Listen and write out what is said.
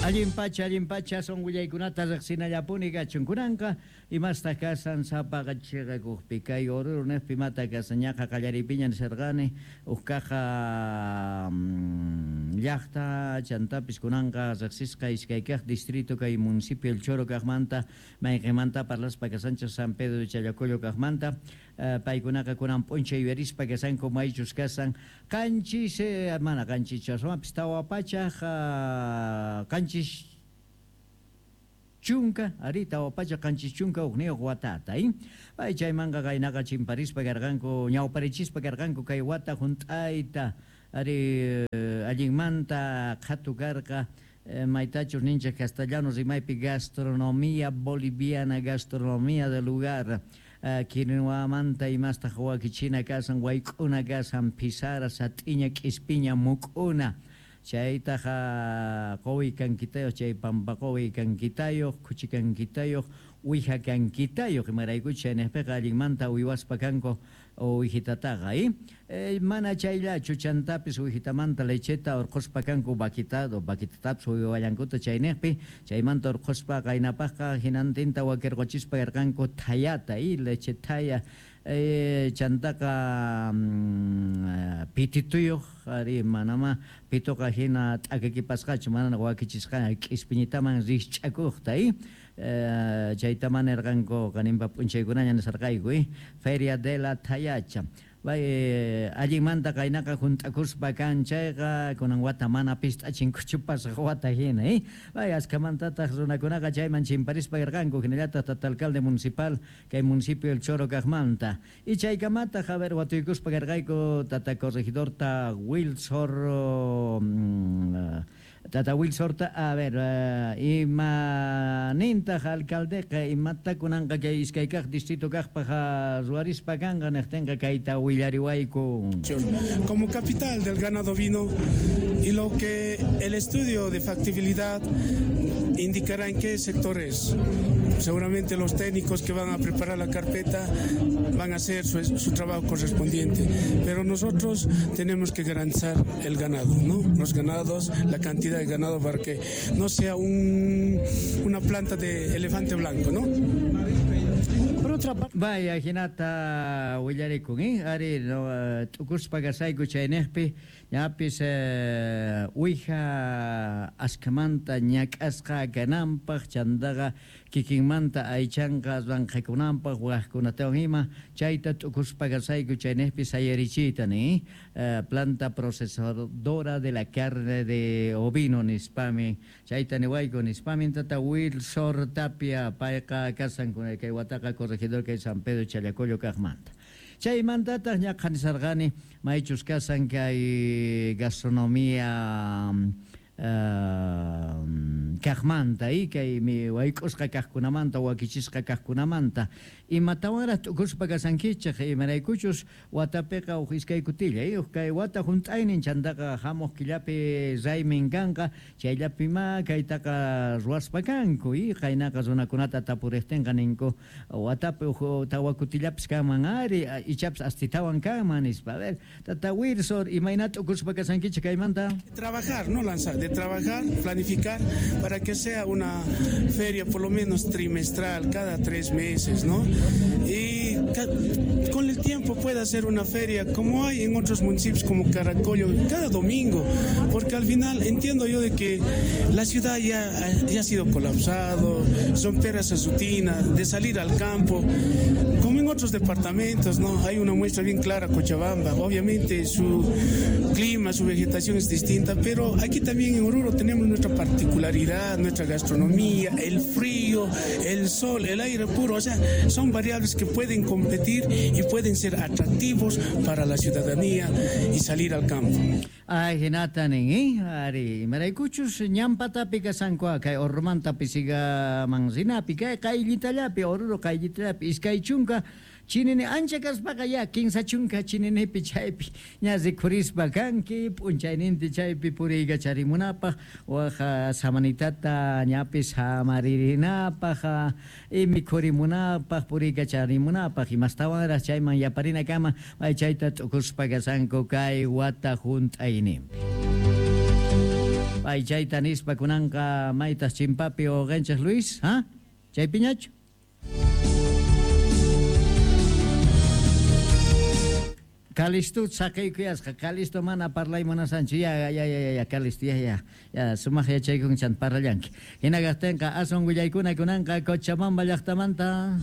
Allin pacha son willaykunata riqsinallapuni kachun. Kunanqa imastaq kasan sapaqa chiqakuqpi kay Oruro niqpi imata kasan ñaqa qallariypiña nisharqani huk kaqa llaqta chantapis kunanqa riqsisqa iskay kaq distrito kay municipio El Choro kaqmanta mayqinmanta parlaspa kasanchik San Pedro de Challacollo kaqmanta paykunaqa kunan p'unchay yuyarispa kasanku maychus kasan qanchis mana qanchis aswanpis 400 70 ari 471 watata pay chaymanqa qaynaqa chimparispa karqanku ñawparichispa karqanku kay wata hunt'ayta ari allinmanta qhatu karqa maytachus ninchik castellano rimaypi gastronomía boliviana, gastronomía del lugar quinoamanta imastaq wakichina kasan wayk'una kasan pisara sat'iña k'ispiña muk'una chaytaqa quwi kankitayuq chay pampa quwi kankitayuq khuchi kankitayuq uwiha kankitayuq imaraykuchus chayniqpiqa allinmanta uywaspa kanku uwijitataqa mana chayllachu chantapis uwijitamanta lecheta urqhuspa kanku vaquitado vaquitatapis uywallankuta chayniqpi chaymanta urqhuspa qaynapaqqa hinantinta wakirquchispa karqanku thayata leche thaya chantaqa pitituyuq ari manama pituqa hina t'akakipasqachu manana wakichisqa k'ispiñitaman rikch'akuqta chaytama nirqanku qaninpa p'unchaykunaña nisarqayku Feria de la Thayacha bay allinmanta qaynaqa hunt'akuspa kan chayqa kunan wata mana pist'achinkuchu pasaq wata hina bay askamantataq runakunaqa chayman chimparispa karqanku hinallataq tata alcalde municipal kay municipio El Choro kaqmanta y chaykamataq a ver watuykuspa karqayku tata corregidorta Wilsor tata Wilsorta a ver ima nintaq alcaldeqa imata kunanqa kay iskay kaq distrito kaqpaq ruwarispa kanqa niqtinqa kayta willariwayku. Como capital del ganado ovino y lo que el estudio de factibilidad indicará en qué sectores. Seguramente los técnicos que van a preparar la carpeta van a hacer su trabajo correspondiente, pero nosotros tenemos que garantizar el ganado, ¿no? Los ganados, la cantidad de ganado para que no sea una planta de elefante blanco, ¿no? Por otra parte... Vaya, hinata willarikun, ari no t'ukuspa kasayku chayniqpi ñapis uwija askamanta ñak'asqa kananpaq chantaqa kikinmanta aychanqa ranqhakunanpaq waqkunatawan ima chayta t'ukuspa kasayku chayniqpi sayarichiyta nin planta procesadora de la carne de ovino nispami chayta niwayku nispami tata Wilsor Tapia payqa kasan kay wataqa corregidor kay San Pedro Challacollo kaqmanta. Chaymantataq ñaqa nisarqani maychus kasan kay gastronomía kaqmanta kay wayk'usqa kaqkunamanta wakichisqa kaqkunamanta imatawanraq t'ukuspa kasankichik imaraykuchus watapiqa huk iskay kutilla huk kay wata hunt'aynin chantaqa hamuq killapi raymin kanqa chayllapima kaytaqa ruwaspa kanku qaynaqa runakunata tapuriqtinqa ninku watapi huk tawa kutillapis kanman ari ichapis astitawan kanman nispa. A ver, tata Wilsor, imayna t'ukuspa kasankichik kaymanta? Trabajar, no lanzar, de trabajar, planificar para que sea una feria por lo menos trimestral, cada 3 meses, ¿no? Y con el tiempo pueda ser una feria como hay en otros municipios como Caracollo, cada domingo, porque al final entiendo yo de que la ciudad ya ha sido colapsado, romper esa rutina de salir al campo, como en otros departamentos, ¿no? Hay una muestra bien clara, Cochabamba, obviamente su clima, su vegetación es distinta, pero aquí también en Oruro tenemos nuestra particularidad, nuestra gastronomía, el frío, el sol, el aire puro, o sea, son variables que pueden competir y pueden ser atractivos para la ciudadanía y salir al campo. Ay, hinata nin, ari, imaraykuchus ñampatapi kasanku kay Orurumanta Pisigaman rinapi, kay qayllitallapi, Oruro qayllitallapi, 20 chinini ancha kaspaqa ya 30 chininipi chaypi ña rikhurispa kanki p'unchayninti chaypi puriykacharimunapaq waqa samanitata ñapis samaririnapaq mikhurimunapaq puriykacharimunapaq imastawanraq chayman yaparinakama may chayta t'ukuspa kasanku kay wata hunt'ayninpi. Pay chayta nispa kunanqa maytaq chimpapi wawqinchik Luis, ha? Chaypiñachu? Calisto saqeykuyasqa, Calisto mana parlay munasanchu, ya, ya, ya, ya, ya, Calisto, ya, ya, ya, sumaq yachaykun chan parlallanki. Hina kaqtinqa aswan willaykuna kunanqa Cochabamba llaqtamanta.